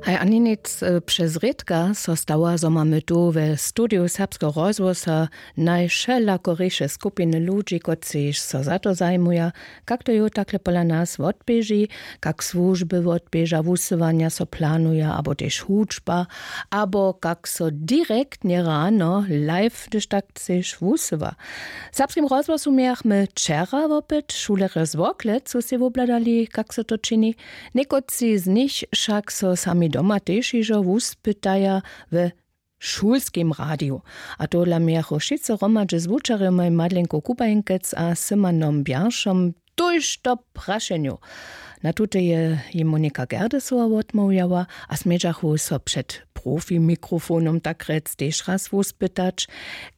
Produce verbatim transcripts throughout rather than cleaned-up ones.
Haj, ani nic. Přez rědka so stawa, zo mamy tu we studiju serbskeho rozhłosa najwšelakoriše skupiny ludźi, kotřiž so za to zajimuja, kak to jo takle pola nas wotběži, kak słužby wotběža, wusyłanja so planuja abo tež hudźba, abo kak so direktnje rano live, hdyž tak chceš, wusyła. W serbskim rozhłosu mějachmy wčera wopyt šulerjo z Worklec, su sej wobhladali, kak so to čini. Někotři z nich wšak so sami doma tež hižo wuspytaja we šulskim radiju. A tohodla mějachu wšitcy hromadźe z wučerjomaj Madlenku Kubajenkec a Symanom Bjeršom tójšto prašenjow. Na tute je jim Monika Gerdesowa wotmołwjała a smědźachu so před profimikrofonom tak rjec tež raz wuspytać,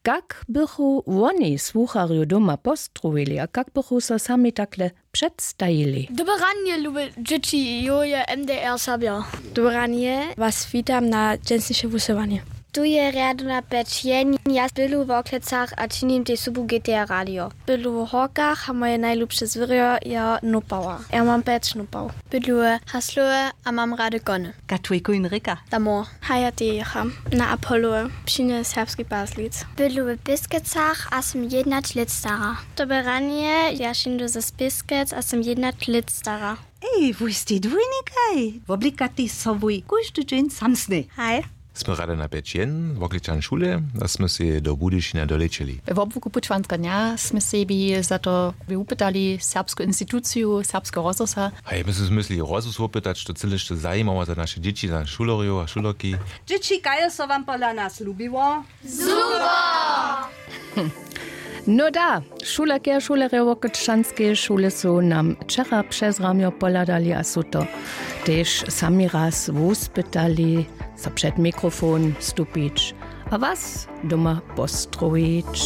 kak bychu woni słucharjow doma postrowili a kak bychu so sami takle předstajili. Dobre ranje, lube dźěći, jo je M D R Serbja. Dobre ranje, was witam na dźensniše wusyłanje. Tu je rjadowna pjeć jen, ja bydlu w Worklecach a činim tež sobu G T R radio. Bydlu w Horkach a moje najlubše zwěrjo je nopała. Ja mam pjeć nopał. Bydlu w Haslowe a mam rady kony. Katolikow Hinrika. Damo. Haja tejecha na Apollo, přinje serbski paslic. Bydlu w Piskecach a sym jednać lět stara. Dobre ranje, ja šindu ze Piskec a sym jednać lět stara. Ej, wój stej dwójnikaj, woblikatej so wój kóždy dźeń samsnej. Haj. Smy rady na pjeć jen, wokličan šule, a smy sej do Budyšina dolećeli. We wobłuku pućwanska dnja smy sebi za to wupytali serbsku instituciju serbskeho rozhłosa. Haj, my smy zmyslili rozhłos wopytać, što cyle što zajimało za naše dźěći, za šulerjow a šulerki. Dźěći, kaž so wam pola nas lubiło? No da, šulerki a šulerjo Workleczańskeje šule su nam wčera přez ramjo pohladali a su to tež sami raz wuspytali, so před mikrofon stupić a was doma postrowić.